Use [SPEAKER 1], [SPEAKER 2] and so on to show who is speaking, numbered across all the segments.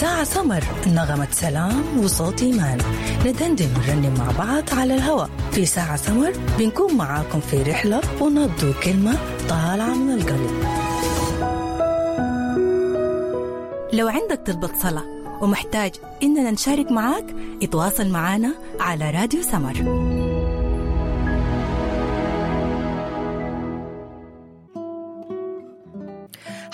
[SPEAKER 1] ساعة سمر، نغمة سلام وصوت إيمان، ندندن ونرنم مع بعض على الهواء. في ساعة سمر بنكون معاكم في رحلة ونبض كلمة طالعة من القلب. لو عندك طلبة صلاة ومحتاج إننا نشارك معاك، اتواصل معنا على راديو سمر.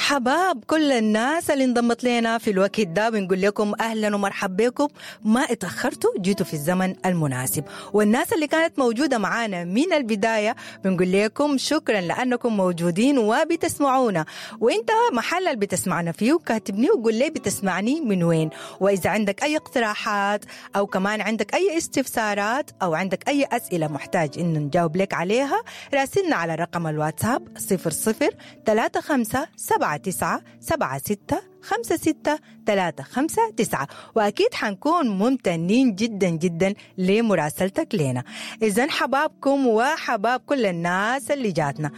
[SPEAKER 1] حباب كل الناس اللي انضمت لنا في الوقت ده، بنقول لكم اهلا ومرحبا بكم. ما اتاخرتوا، جيتوا في الزمن المناسب. والناس اللي كانت موجوده معانا من البدايه بنقول لكم شكرا لانكم موجودين وبتسمعونا. وانت محل اللي بتسمعنا فيه كاتبني وقول لي بتسمعني من وين، واذا عندك اي اقتراحات او كمان عندك اي استفسارات او عندك اي اسئله محتاج انه نجاوب لك عليها، راسلنا على رقم الواتساب 00 35 7 9 7 6 5 6 3 5 9، وأكيد حنكون ممتنين جدا جدا لمراسلتك لنا. إذن حبابكم وحباب كل الناس اللي جاتنا.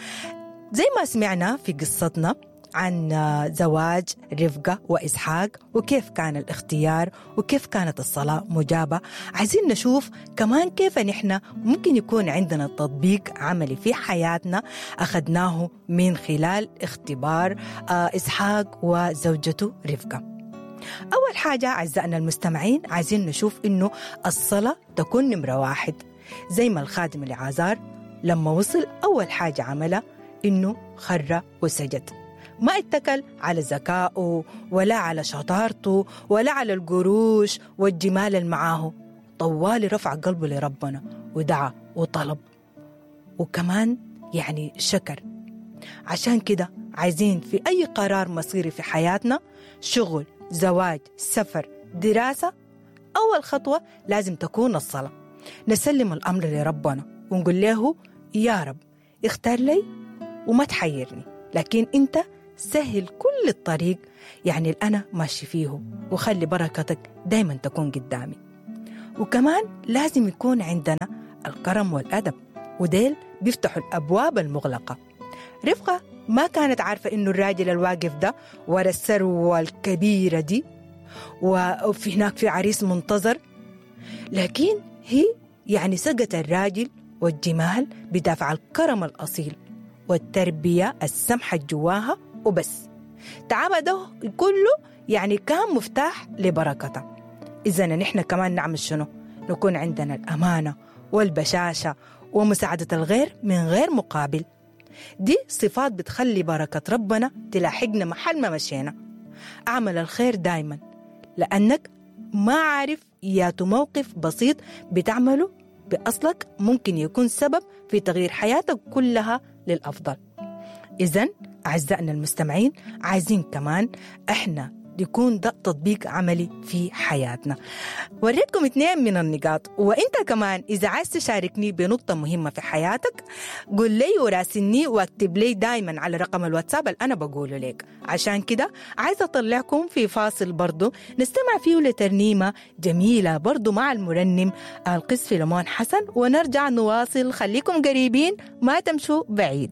[SPEAKER 1] زي ما سمعنا في قصتنا عن زواج رفقة وإسحاق وكيف كان الاختيار وكيف كانت الصلاة مجابة، عايزين نشوف كمان كيف نحن ممكن يكون عندنا تطبيق عملي في حياتنا أخذناه من خلال اختبار إسحاق وزوجته رفقة. أول حاجة أعزائنا المستمعين، عايزين نشوف إنه الصلاة تكون نمرة واحد. زي ما الخادم العازار لما وصل أول حاجة عملها إنه خر وسجد، ما اتكل على ذكائه ولا على شطارته ولا على القروش والجمال اللي معاه، طوالي رفع قلبه لربنا ودعا وطلب وكمان يعني شكر. عشان كده عايزين في أي قرار مصيري في حياتنا، شغل، زواج، سفر، دراسة، أول خطوة لازم تكون الصلاة. نسلم الأمر لربنا ونقول له يا رب اختار لي وما تحيرني، لكن أنت سهل كل الطريق يعني اللي أنا ماشي فيه، وخلي بركتك دايما تكون قدامي. وكمان لازم يكون عندنا الكرم والأدب، وديل بيفتحوا الأبواب المغلقة. رفقة ما كانت عارفة إنه الراجل الواقف ده ورا الثروة الكبيرة دي وفي هناك في عريس منتظر، لكن هي يعني سقت الراجل والجمال بدافع الكرم الأصيل والتربية السمحة جواها وبس. تعب ده كله يعني كان مفتاح لبركته. إذا نحن كمان نعمل شنو؟ نكون عندنا الأمانة والبشاشة ومساعدة الغير من غير مقابل. دي صفات بتخلي بركة ربنا تلاحقنا محل ما مشينا. أعمل الخير دايما، لأنك ما عارف ياتو موقف بسيط بتعمله بأصلك ممكن يكون سبب في تغيير حياتك كلها للأفضل. إذن أعزائنا المستمعين، عايزين كمان إحنا يكون ده تطبيق عملي في حياتنا. وريتكم 2 من النقاط، وإنت كمان إذا عايز تشاركني بنقطة مهمة في حياتك قول لي وراسلني واكتب لي دايما على رقم الواتساب اللي أنا بقوله لك. عشان كده عايزة أطلعكم في فاصل برضو نستمع فيه لترنيمة جميلة برضو مع المرنم القس فيلمون حسن، ونرجع نواصل. خليكم قريبين ما تمشوا بعيد.